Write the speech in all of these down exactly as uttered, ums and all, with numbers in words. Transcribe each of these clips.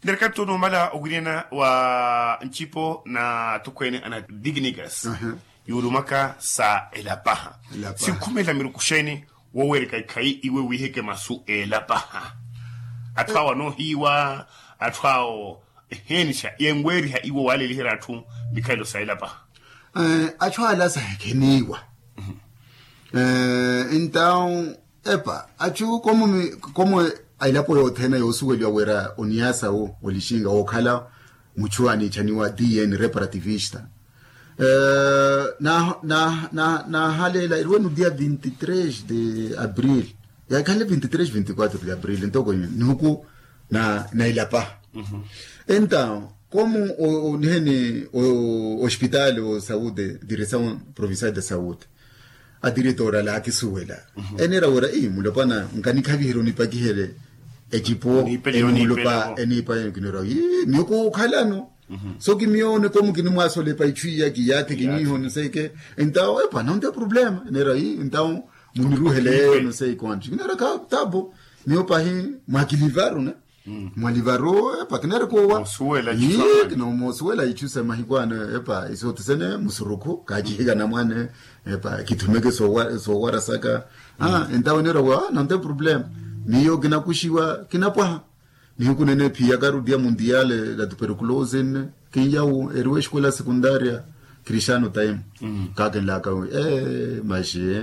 Nirikattu numala owiriyana wa ncipo na atukweene ana dignigas, yuulumaka sa elapaha. Sinkhumela miruku xeeni woweereka ikhayi iwe wiiheke masu elapaha? Atthu awo anoohiiwa, atthu awo eheenixa yenweeriha iwe waaleliherya atthu mikhalelo sa elapaha. Atthu ala sahekheniiwa. Entawu epa atthu komo a elapo yothene yoosuweliwa wira oniyasawu olixinga wookhala muchu aniichaniwa dn reparativista. Nahaleela eriwenu dia vinti tres de abril, yakhale vinti tres vinti kuatro de abril ntoko nihuku na ilapaha. Entawu komu oniheni ospitaali o saude diresawu provincial de saude adiretora laakisuwela. Eneera wira ii mulopwana nkanikhaviherya onipakihele ecipo enimulopa eniipa kinira ii miyo kuukhalano. So kimiyo onikomu kinimwasolepa ichu iya kiyaathi kinyiiho niseke. Entawu epa nonte problema eneera ii entawu muniruheleyo niseke wanti kinira kha tabu. Miyo pahi mwakilivaru ne mwalivaru epa kineerikuwa. Kinomosuwela ichu semahiku ano epa isotisene musurukhu kaachihikana mwane epa kithumeke soowarasaka. Entawe neera wa nante problema miyo kinakuxiwa kinapwaha. Nihiku nene phiyaka rudia mundiale la tuperculosi nne kinyawu eriwe eskuela sekundaria kristiano time kakinlaka wi ee maxi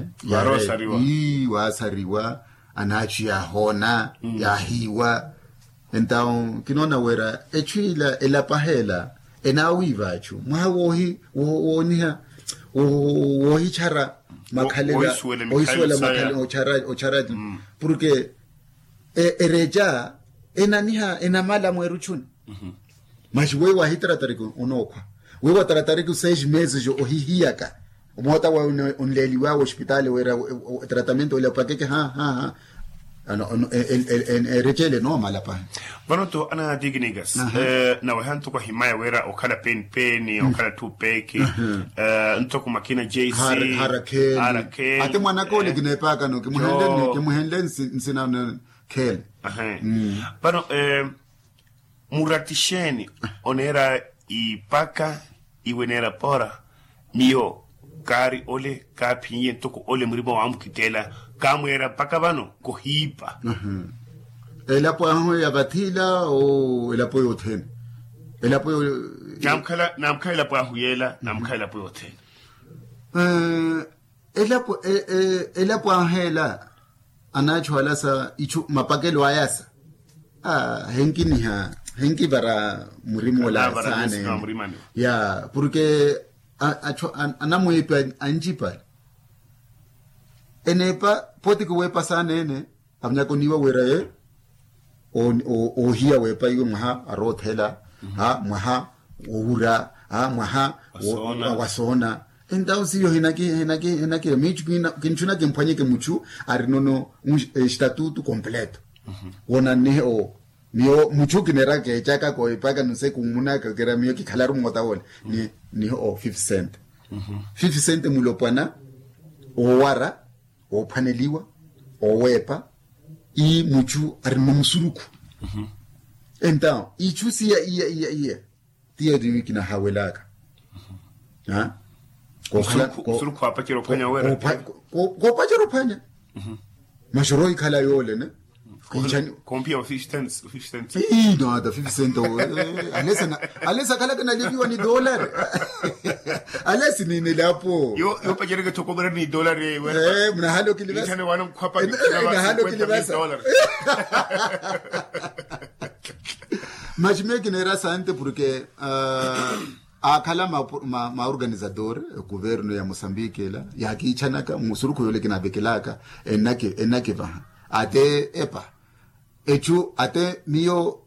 ii waasariwa anaachu yaahoona yaahiiwa. Entawu kinoona wira echu ila elapaha ela enaawiiva achu mwaha woohi wooniha woohichara makhalela oisuwela makhalela ochara ochara. Porke ereca enaniha enamala mweeruchuni. Maxi weyo waahitaratariki onookhwa weyo waataratariki seis meses ohihiyaka omoota wawe onleeliwawe ospitaali wira tratamento wela opakeke ha ha ha. Erecele noomala pahi. Vano to ana dignigas naweha ntoko ahimaya wira okhala peni peni okhala tupeki ntoko makina jc harakheli. Ate mwanaka ole kineepaakano kimuhenle nsina khele. Vano murati xeeni oneera ipaka iwe neera pora miyo kaari ole kaaphinyiye ntoko ole murima waamukitteela kaamweera mpaka vano kohiipa. Elapo ahu ya vathi ila o elapo yothene elapo yo namkhala namkhala elapo ahu yeela namkhala elapo yothene. Elapo elapo ahu ela anaachu ala sa ichu mapakelo aya sa henkiniha henkivara murima ola saanene ya porke anamwiipi ancipale eneepa potiki weepa saanene avinyaka oniiwa wira ye oohiya weepa iwe mwaha aroothela mwaha wowura mwaha wasoona. Entawu siyo hinakira miichu kinchuna kimphwanyeke muchu arinono estatutu completo wonannihe o miyo muchu kineeraka ecaka koipaka nse kumunaka kira miyo kikhalaru moota wole nihe o fifty cent. Fifty cent mulopwana owara oophwaneliwa oweepa ii muchu arinono musurukhu. Entawu ichu siya iya iya iya tiyo timi kinahawelaka koopacerya ophwanya maxoro ikhala yoole ne. Kompiya ofisi tents ofisi tents ii nata fifty cent alesi akhalaka nalipiwa ni dolari. Alesi ninelapo yopacereke thokomera ni dolari ewe munahalo kilivasa. Munahalo kilivasa. Maxi miyo kineera sante porke aakhala maorganisador kuverno ya mosambike ela yaakiichanaka musurukhu yoole kinavekelaka ennakivaha ate epa echu ate miyo